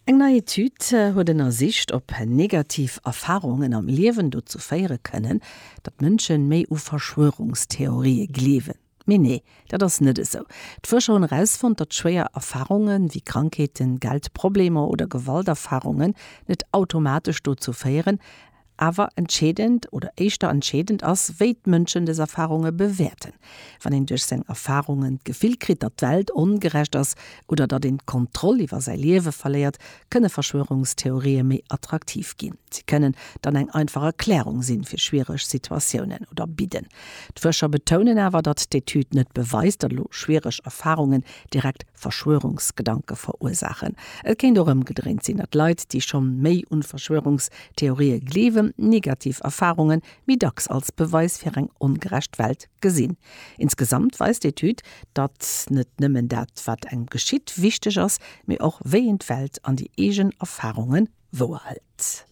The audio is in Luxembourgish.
Eng nei Etüd huet ënnersicht, ob negativ Erfarungen am Liewen dozou féiere kënnen, datt Mënsche méi u Verschwörungstheorië gleewen. Mee nee, dat ass net esou. D'Fuerscher hunn erausfonnt, datt schwéier Erfarunge wéi Krankheeten, Geldproblemer oder Gewalterfarungen net automatesch dozou féieren, Awer entscheedend, oder éischter entscheedend ass, wéi d'Mënschen des Erfarunge bewäerten. Wann een duerch seng Erfarungen d'Gefill kritt, datt d'Welt ongerecht ass oder datt een d'Kontroll iwwer säi Liewe verléiert, kënne Verschwörungstheorië méi attraktiv ginn. Si kënnen dann eng einfach Erklärung sinn fir schwiereg Situatiounen oder bidden. D'Fuerscher betounen awer, datt d'Etüd net beweist, datt elo schwiereg Erfarungen direkt Verschwörungsgedanke verursaachen. Et kéint och ëmgedréint sinn, datt Leit, déi scho méi un Verschwörungstheorië gleewen, negativ Erfarunge méi dacks als Beweis fir eng ongerecht Welt gesinn. Insgesamt weist d'Etüd, datt net nëmmen dat, wat engem geschitt, wichteg ass, mee och wéi een d'Welt an déi eegen Erfarunge wouerhëlt.